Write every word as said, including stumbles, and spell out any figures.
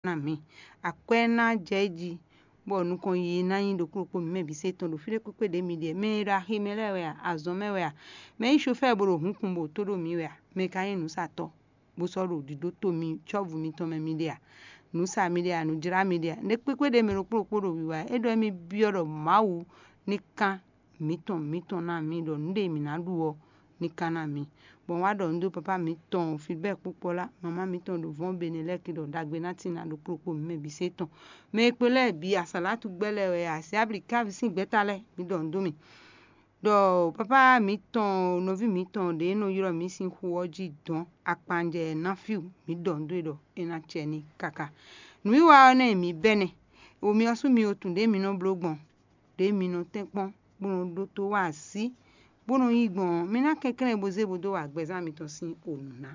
ná mǐ. Akwɛ́ ná jɛ é jí, bɔ nukɔn yiyi ná nyí ɖokpó ɖokpó mǐ mɛ bǐ se tɔn ɖo fí ɖé kpékpé ɖě mi ɖe. Mɛ e ɖo axi mɛ lɛ́ɛ wɛ a, azɔn mɛ wɛ a, mɛ e nyí sofɛ́ɛ bó ɖo hǔnkun bó tó ɖó mǐ wɛ a, mɛ ka nyí nǔsatɔ́, bó sɔ́ ɖo ɖǐɖó to mi cɔ́vu mitɔn mɛ mi ɖe a, nǔ sa mi ɖe a, nǔ jlá mi ɖe a, nɛ̌ kpékpé ɖě mɛ ɖokpó ɖokpó ɖo wiwa ɛ? É ɖɔ émí byɔ́ ɖɔ Mawu ní kán mǐtɔn mǐtɔn ná mǐ ɖɔ nǔ ɖe mǐ ná ɖu ɔ́ ní kán ná mǐ. Bɔ un wá ɖɔ nǔ dó papá mǐtɔn Filibɛ́ɛ kpókpɔ́ lá, mamá mǐtɔn ɖo vɔ̌n Benelɛ́ki ɖɔ ɖagbe ná tín ná ɖokpó ɖokpó mǐ mɛ bǐ se tɔn. Mɛ e kpo lɛ́ɛ bǐ, asǎlátú gbɛ́ lɛ́ɛ wɛ a, sɛ abli kávi sín gbɛ́ta lɛ́ɛ, mǐ ɖɔ nǔ dó mì. Ɖɔ papá mǐtɔn, nɔví mǐtɔn ɖě e nɔ ylɔ́ mǐ sín xu ɔ́ jí dɔ̌n akpanjɛ ná fíw, mǐ ɖɔ nǔ dó e ɖɔ é ná cɛ n'i káká. Nǔwiwa ɔ́ nɛ́ mǐ bɛ́ nɛ́. Wo mi ɔ́ sú mi o tun ɖě mi nɔ bló gbɔn, ɖě mi nɔ tɛ́nkpɔ́n, bó nɔ ɖótó wa así, bó nɔ yí gbɔn ɔ́, mi ná kɛnklɛ́n bó zé bó dó wa gbɛzán mitɔn sín o nǔ ná.